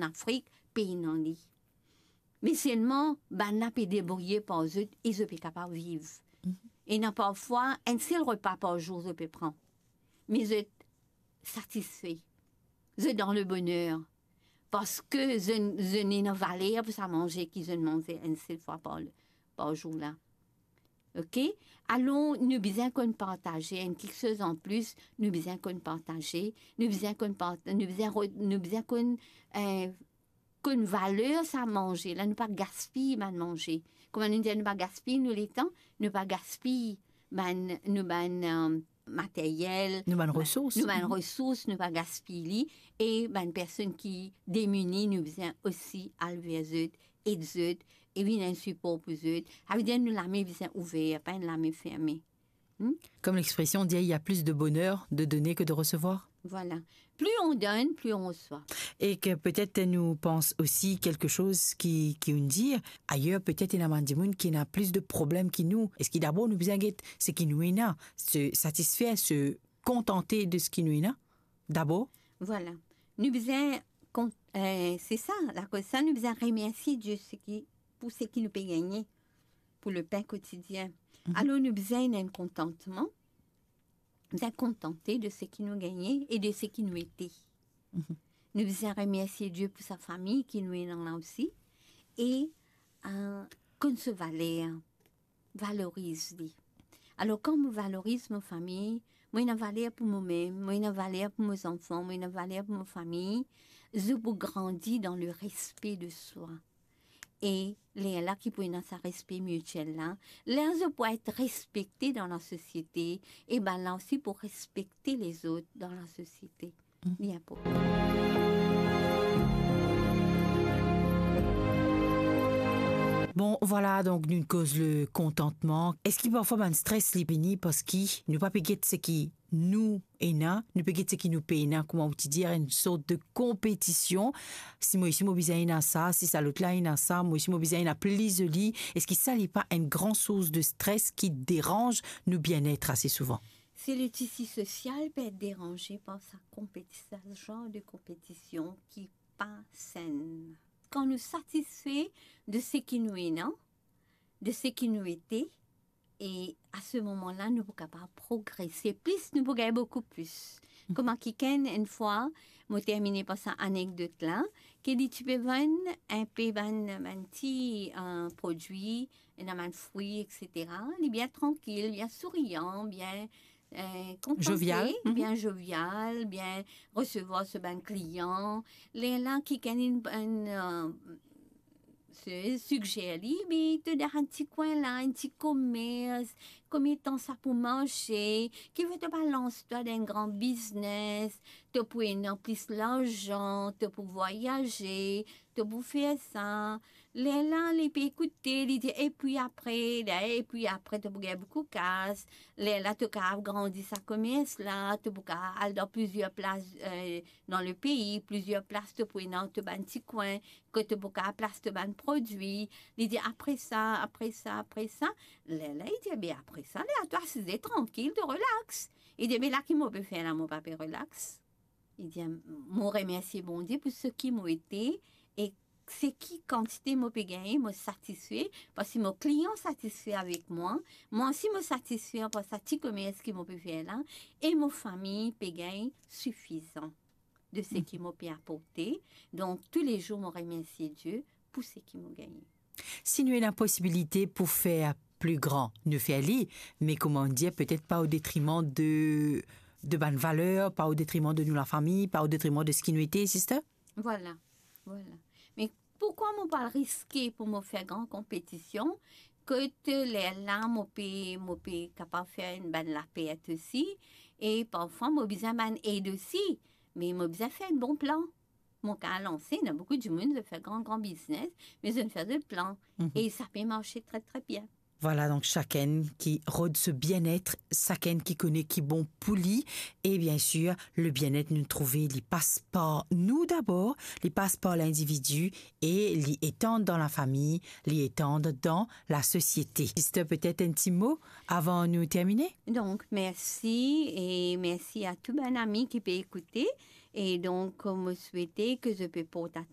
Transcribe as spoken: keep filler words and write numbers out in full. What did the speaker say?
Afrik, pena li. Me selman, bann la pe debrouye par zot e zot pe kapav viv. Mhm. Ena parfwa enn sel repa par zour zot pe pran. Me zot satisfe. Zot dan leboner. Parski zot, zot ena valer pou sa manze ki zot manze enn sel fwa par, par zour la. Ok? Alor, nou bizin konn partaze, enn kiksoz an plis, nou bizin konn partaze, nou bizin konn part-, nou bizin re-, nou bizin konn, eh, konn valer sa manze la, nou pa gaspiy bann manze. Kouma nou dir, nou pa gaspiy nou letan, nou pa gaspiy bann, nou bann, eh, materyel, nou bann resours, nou bann resours, nou pa gaspiy li, e bann personn ki demini, nou bizin osi al ver zot, ed zot, e vinn enn sipor pou zot. Savedir nou lame bizin ouver, pa enn lame ferme. Hmm? Comme l'expression dit, il y a plus de bonheur de donner que de recevoir. Voilà. Plus on donne, plus on reçoit. E ki petet nou pans osi kiksoz ki, ki ou'nn dir, ayer petet ena bann dimoun ki ena plis de problem ki nou. Eski dabor nou bizin get seki nou ena, se satisfer, se kontante de seki nou ena dabor? Voilà. Nou bizin kont-, eh, se sa, lakoz sa, nou bizin remersie Die seki, pou seki nou pe gagne, pou le pain quotidien. Mhm. Alor, nou bizin ena enn kontantman, bizin kontante de seki nou gagne e de seki nou ete. Mhm. Nou bizin remersie Die pou sa fami ki nou ena la osi. E, eh, konn so valer, valoriz li. Alor, kan mo valoriz mo fami, mo ena valer pou momem, mo ena valer pou mo zanfan, mo ena valer pou mo fami, zot pou grandi dan le respe de swa. E lerla ki pou ena sa respe mitiel la, ler zot pou et respekte dan lasosiete, e bann la osi pou respekte lezot dan lasosiete. Mm. Li inportan. Bon, vwala, donk nou koz le kontantman. Eski parfwa bann stres li vini parski nou pa pe get seki nou ena, nou pe get seki nou pena, kouma ou ti dir, enn sort de konpetision. Si mo isi mo bizin ena sa, si sa lot la ena sa, mo isi mo bizin ena pli zoli. Eski sa li pa enn gran sours de stres ki deranz nou bienet ase souvan? Se le tisi sosial pe et deranze par sa konpeti-, sa zanr de konpetision ki pa senn. Kan nou satisfe de seki nou ena, de seki nou ete, e a se moman la, nou pou kapav progrese plis, nou pou gagn boukou plis. Kouma kikenn, enn fwa, mo termine par sa anekdot la, ke li ti pe vann enpe bann, bann ti, eh, prodwi, ena bann fri, et cetera. Li bien trankil, bien sourian, bien, eh, kontante, jovial. Mhm. Bien jovial, bien resevwar so bann klian. Lerla kikenn inn, inn, eh, se sigzer li, be to dan enn ti kwin la, enn ti komers, komie tan sa pou marse, ki fer to pa lans twa dan enn gran biznes, to pou ena plis larzan, to pou vwayaze, to pou fer sa. Lerla li pe ekoute, li dir, "Epi apre, la, epi apre, to pou gagn boukou kas. Lerla to kapav grandi sa komers la, to pou kapav al dan plizier plas, eh, dan lepei, plizier plas to pou ena to bann ti kwin, kot to pou kapav plas to bann prodwi." Li dir, "Apre sa, apre sa, apre sa." Lerla li dir, "Be apre sa, lerla to asize trankil, to relax." Li dir, "Be la ki mo pe fer la, mo pa pe relax." Li dir, "Mo remersie Bondie pou seki mo ete, e seki kantite mo pe gagne, mo satisfe, parski mo klian satisfe avek mwa, mwa osi mo satisfe par sa ti komers ki mo pe fer la, e mo fami pe gagn sifizan de seki mo pe aporte. Donk, toulezour mo remersie Die pou seki mo gagne." Si nou ena posibilite pou fer pli gran, nou fer li, me kouma dir, petet pa o detriman de, de bann valer, pa o detriman de nou lafami, pa o detriman de seki nou ete, sister? Vwala, vwala. Me poukwa mo pa riske pou mo fer gran konpetision, kot lerla mo pe, mo pe kapav fer enn bann lapert osi, e parfwa mo bizin bann ed osi, me mo bizin fer enn bon plan. Mo kapav lanse, ena boukou dimoun, zot fer gran, gran biznes, me zot fer zot plan. Mhm. E sa pe marse tre, tre bien. Vwala, donk sakenn ki rod so bienet, sakenn ki kone ki bon pou li, e biensir, le bienet nou trouve, li pas par nou dabor, li pas par lindividi, e li etann dan lafami, li etann dan lasosiete. Sister, petet enn ti mo avan nou termine? Donk, mersi, e mersi a tou bann ami ki pe ekoute. E donk, mo swete ke zot pe port atansion